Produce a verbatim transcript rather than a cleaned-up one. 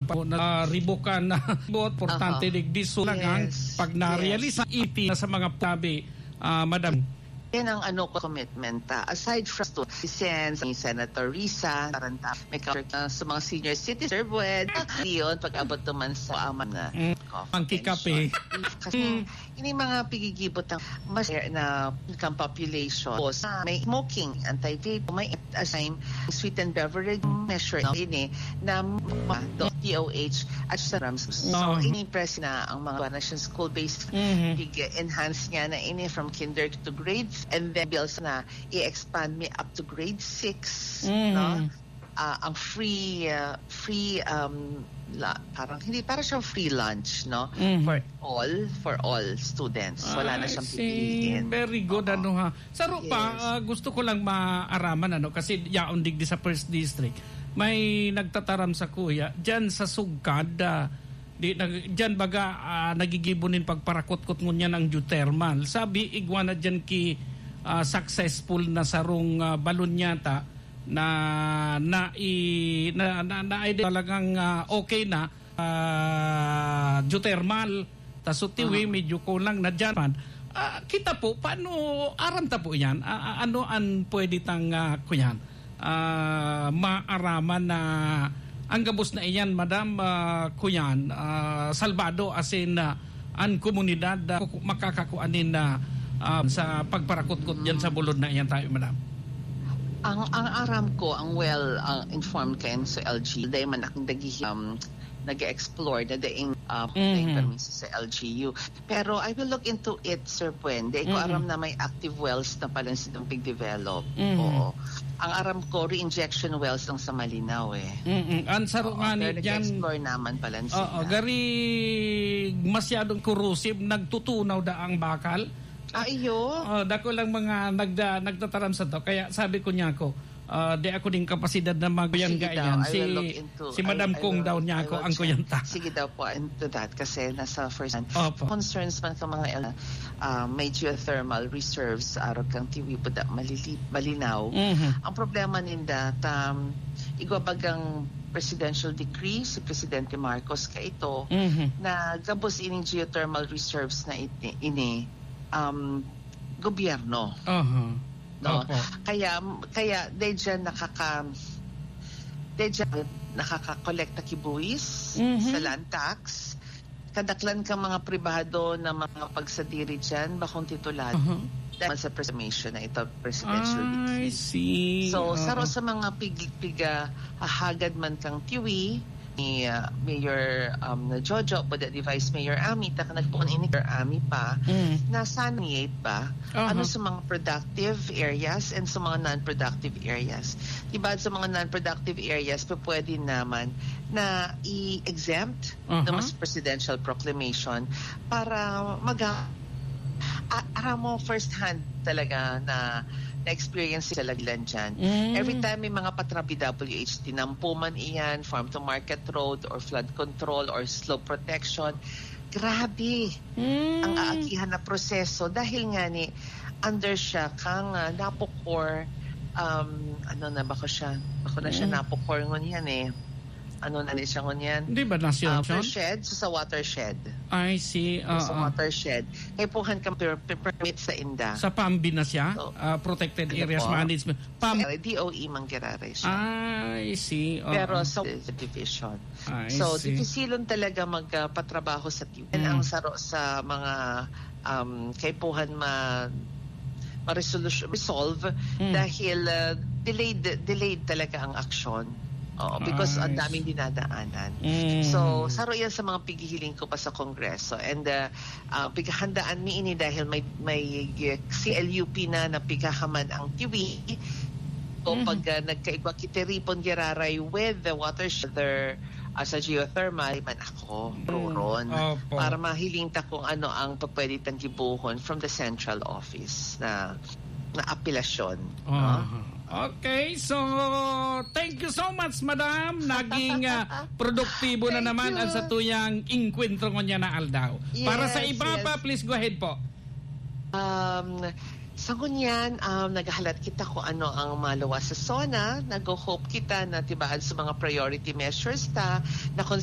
pa na, ah, ribukan na bot, importante Aha. digdi so lang ang Yes. pag narealisa Yes. iti na sa mga tabi, ah, madam. Yan ang ano ko commitment ta. Aside from to, si Sen, si Senator Risa, Taranta, may counter ka sa mga senior citizen, Sir Buen, yun, pag-abot naman sa aman na Mm. coffee Ang kikape. pension. Kasi Mm. ini mga pigigibot ang mas na kang population. Sa may smoking, anti-vape, may assign sweetened beverage measure na ini na ma-, do-, D O H at sa rams. So, Oo. ini press na ang mga national school-based Mhm. pig-enhance niya na ini from kinder to grades and then bills na i-expand mi up to grade six, Mhm. no? Ah, ang free, ah, free, um, la-, parang hindi, parang siyang free lunch, no? Mhm. For all, for all students. Wala na I siyang see. pipiliin. Very good, Oo. ano ha. Saro pa, Yes. ah, gusto ko lang maaraman, ano, kasi yaon digdi sa First District. May nagtataram sa kuya, dyan sa Sugkad, ah, di, nag-, dyan baga, ah, nagigibo nin pagparakotkot ngunyan ang geothermal. Sabi, igwa na dyan ki, ah, successful na sarong, ah, balon yata na, na, i-, na, na, na, ay, talagang, ah, okay na, ah, geothermal. Ta so tiwi, Mhm. medyo kulang na dyan man. Ah, kita po, paano, aram ta po yan? Ah, ah, ano an pwede tang, ah, kuyan? Ah, maaraman na ang gabos na iyan, madam, ah, kuyan, ah, salbado, as in, ah, an komunidad, ah, kuku-, makakakuan nin, ah, ah, sa pagparakotkot diyan sa bulod na iyan tayo, madam? Ang, ang aram ko, ang well, ah, informed kayan sa L G, dahil man akong naghihi-, um, nag-explore na daing, ah, Mhm. permiso sa L G U. Pero I will look into it, Sir Buen. Dai ko Mhm. aram na may active wells na pala silang pig-develop. Mhm. Oo. Ang aram ko, re-injection wells lang sa Malinaw eh. Mm-mm. Ang saro Oo, nga pero ni dyan, nag-explore naman pala Oo, sila. gari masyadong corrosive, nagtutunaw da ang bakal. Ah, iyo? Oh, dako lang mga nagda-, nagtataram sa to. Kaya sabi ko niya ako, ah, di ako din kapasidad na magkuyan Sige daw, kaiyan. I Si, will look into, si I, Madam I Kong will, daw niya I ako will ang check. kuyanta. Sige daw po, into that kasi nasa first hand. Opo. Concerns man ka mga el-, ah, may geothermal reserves, arog kang tiwi po da, malili-, malinaw. Mhm. Ang problema ninda, tam, igwa bagang presidential decree si Presidente Marcos kaito Mhm. na gabos ining geothermal reserves na iti-, ini, um, gobyerno. Aha. No? Opo. Kaya, kaya, dahil dyan nakaka-, dahil dyan nakakakolekta ki buwis Mhm. sa land tax, kadaklan ka mga pribado na mga pagsadiri dyan, bakong titulado. Aha. Dahil sa presumption na ito, presidential I decree. see. So, Aha. saro sa mga pig-, piga, hahagad man kang tiwi, ni, ah, Mayor, um, Jojo, pwede ni Vice Mayor Ami, ta nagpoon ini Mayor Ami pa, Mm. na saniyate ba? Aha. Ano sa mga productive areas and sa mga non-productive areas? Diba sa mga non-productive areas, pa pwede naman na i-exempt Aha. na mas presidential proclamation para mag-, a-, aram mo first hand talaga na na-experience sa Laglan dyan. Mm. Every time may mga patrabi W H, tinampo man iyan, farm to market road, or flood control, or slope protection, grabe Mm. ang aagihan na proseso dahil nga ni under siya kang, ah, NAPOCOR, um, ano na, bako siya, bako na siya Mm. NAPOCOR ngunyan eh. Ano na ni siya ngunyan? Di ba nasyon Ah, siya? Watershed, so sa watershed. I see, So, sa oo. watershed. Kaya puhan kang per-, per-, permit sa inda. Sa PAMBI na siya? So, Ah, Protected ano Areas po? Management. PAM- Sa D O E manggiraray siya. I see, oo. Pero sa division. I So, see. dipisilon talaga magpatrabaho sa T V. Yan Mm. ang saro sa mga, um, kaipuhan ma-, ma-resolution, resolve Mm. dahil, uh, delayed, delayed talaga ang aksyon. Oo, because I ang daming see. dinadaanan. Mm. So, saro yan sa mga pighihiling ko pa sa Kongreso. And, uh, uh, pighahandaan mi ini dahil may, may C L U P na na pighahaman ang tiwi. So, Mhm. pag, uh, nagkaigwa ki tiripon giraray with the watershed, uh, sa geothermal, man ako, Mm. roron. Opo. Para mahiling ta kung ano ang pwede tang gibohon from the central office na, na apelasyon, no? Aha. Okay, so thank you so much, madam. Naging, ah, produktibo na Thank naman you. ang satuyang engkwentro ngunyan na aldaw. Para sa Yes, iba pa, yes. please go ahead po. Um, sa ngunyan, um, naghahalat kita kung ano ang maluwas sa SONA. Nag-hope kita na tibaan sa mga priority measures ta, na kung